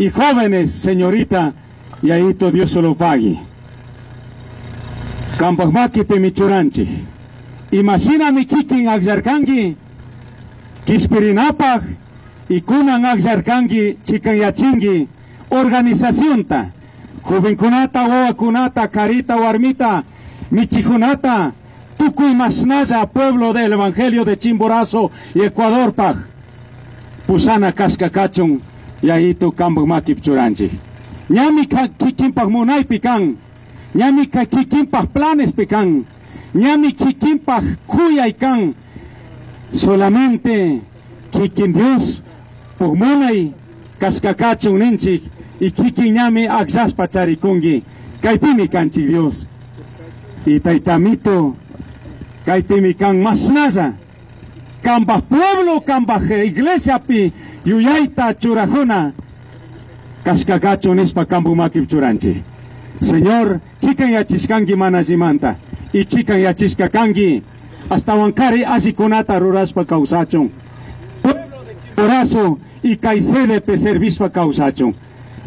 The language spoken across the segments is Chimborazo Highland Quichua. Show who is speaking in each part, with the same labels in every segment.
Speaker 1: Y jóvenes, señorita, Yayito Dios solo pagui. Kambaj maquipimi churanchik. Imashinami kikin akllarkanki, kishpirinapaj y kunan akllarkanki chikanyachinki organizacionta, jovenkunata, wawakunata, karita, warmita, michijunata, tukuy mashnalla pueblo del Evangelio de Chimborazo y Ecuadorpaj, pushana kashka kachun, Yayito kambaj makipi churanchik. Ñami kikinpaj munaypi kan, ñami kikinpaj planespi kan, ñami kikinpaj kuyay kan, solamente kikin Dios puk munay kashka kachun ninchik y kikin ñami akllashpa charikunki, kaypimi kanchik Dios. Y taytamito, kaypimi kan mashnalla, kambaj pueblo, kambaj iglesiapi yuyayta churajuna, kashka kachun nishpa kambuk makipi churanchik. Señor, chikan yachishkanki mana allimanta, y chikan yachishka kanki, ashtawankari allikunata rurashpa kawsachun. Pueblo de Chimborazo y kay sedepe servishpa kawsachun.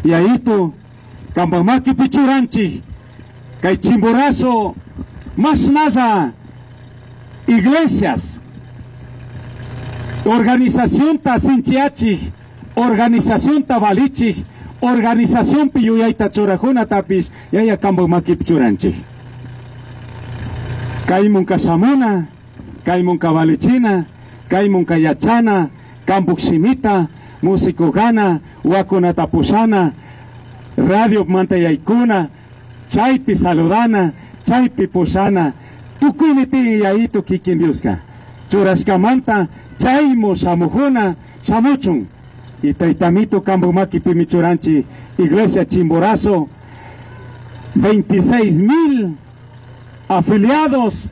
Speaker 1: Yayito, kambaj makipi churanchik, kay Chimborazo, mashnalla iglesias, organización ta sinchiachik, organización ta valichik, organización pi yuyayta churajunatapis, yaya kambaj makipi churanchik. Kaymunka shamuna, kaymunka valichina, kaymunka yachana, kambuk shimita, músico gana, wakunata pushana, radio manta yaykuna, chaypi saludana, chaypi pushana, tukuymi tiyan yayito kikin Dioska. Churashkamanta chaymu shamujuna, shamuchun. Y taytamito kambuk makipimi churanchik, Iglesia Chimborazo, 26,000 afiliados,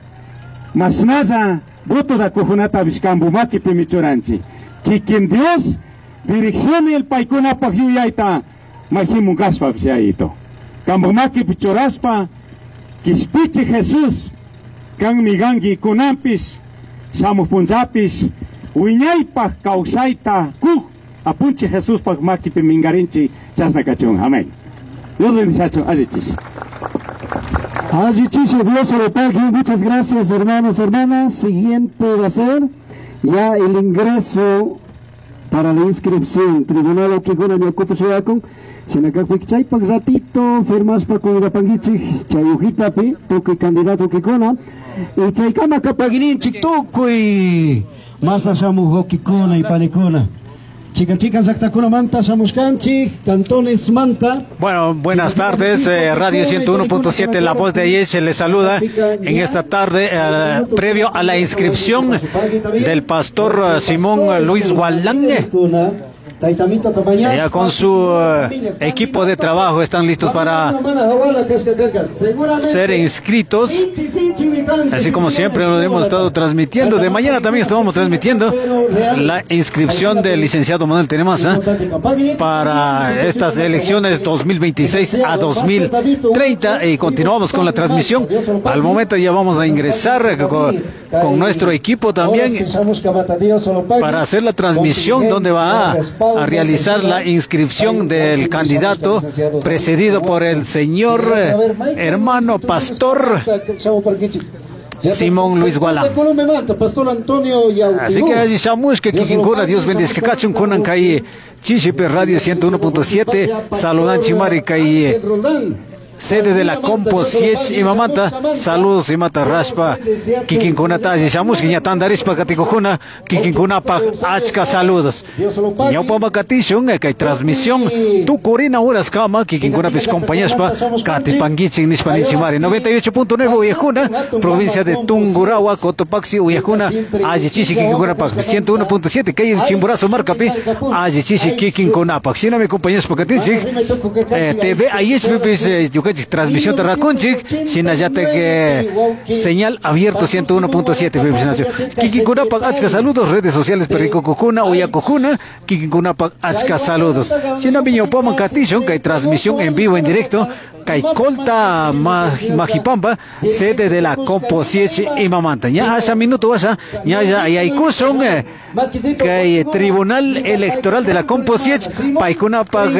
Speaker 1: mashnalla voto da kujunata kambu makipimi churanchik. Kikin Dios, dirección el paykunapaj yuyayta, majimun kashpa yayito. Kambuk makipi churashpa, kishpichi Jesús, kanmi ganki kunanpis, shamuj punllapis, wiñaypaj kawsayta kuj, apunchi Jesuspaj makipi mingarinchi, chasna kachun. Amén. Dios bendice, allichish.
Speaker 2: Allichish, Dios lo pague. Muchas gracias, hermanos, hermanas. Siguiente va a ser ya el ingreso para la inscripción. Tribunal Okikuna Ñokupu Shuyakun. Shinakakpik chaypak ratito, firmashpa kungapankichik, chay hojitapi, tukuy candidato Okikuna. Y chaykama kapagininchik tukuy masna shamuj Okikuna y panikuna. Chica, chica, llaqtakunamanta shamushkanchik, cantones manta.
Speaker 3: Bueno, buenas tardes, Radio 101.7, La Voz de Ayer les saluda en esta tarde, previo a la inscripción del pastor Simón Luis Gualán. Ya con su equipo de trabajo están listos para ser inscritos. Así como siempre lo hemos estado transmitiendo. De mañana también estamos transmitiendo la inscripción del licenciado Manuel Tenemaza para estas elecciones 2026 a 2030. Y continuamos con la transmisión. Al momento ya vamos a ingresar con nuestro equipo también para hacer la transmisión donde va a realizar la inscripción del candidato precedido por el señor hermano pastor Simón Luis Gualán. Así que allí shamush que kikinkuna, Dios bendice que kachun kunan kay Chishipe Radio 101.7, saludan chimari kay sede de la Compo Siech y Mamanta, saludos y mata raspa, kikinkunata allí shamush que ñatandarispa katikujuna, kikinkunapa achka saludos. Ñawpama katishun, kay transmisión, tukurina horas kama, kikinkunapis compañaspa, katipanguichin nishpa nichimari, 98.9 Uyajuna, provincia de Tungurahua, Cotopaxi, Uyajuna, alli chishi kikinkunapa, 101.7, kay Chimborazo markapi, alli chishi kikinkunapa. Shinami compañaspa katichik, TV Ayeshpipis, transmisión de Rakunchik, shinallate que señal abierto 101.7. Kikinkunapak achka saludos, redes sociales Perico Cojuna, Uyacojuna, Kikinkunapak achka saludos. Shinami ñawpaman katishun, kay transmisión en vivo en directo, kay Colta Majipampa, sede de la Compo Siech y Mamanta. Ña asha minuto asha, ña ya yaykushun, kay Tribunal Electoral de la Compo Siech, paykunapak.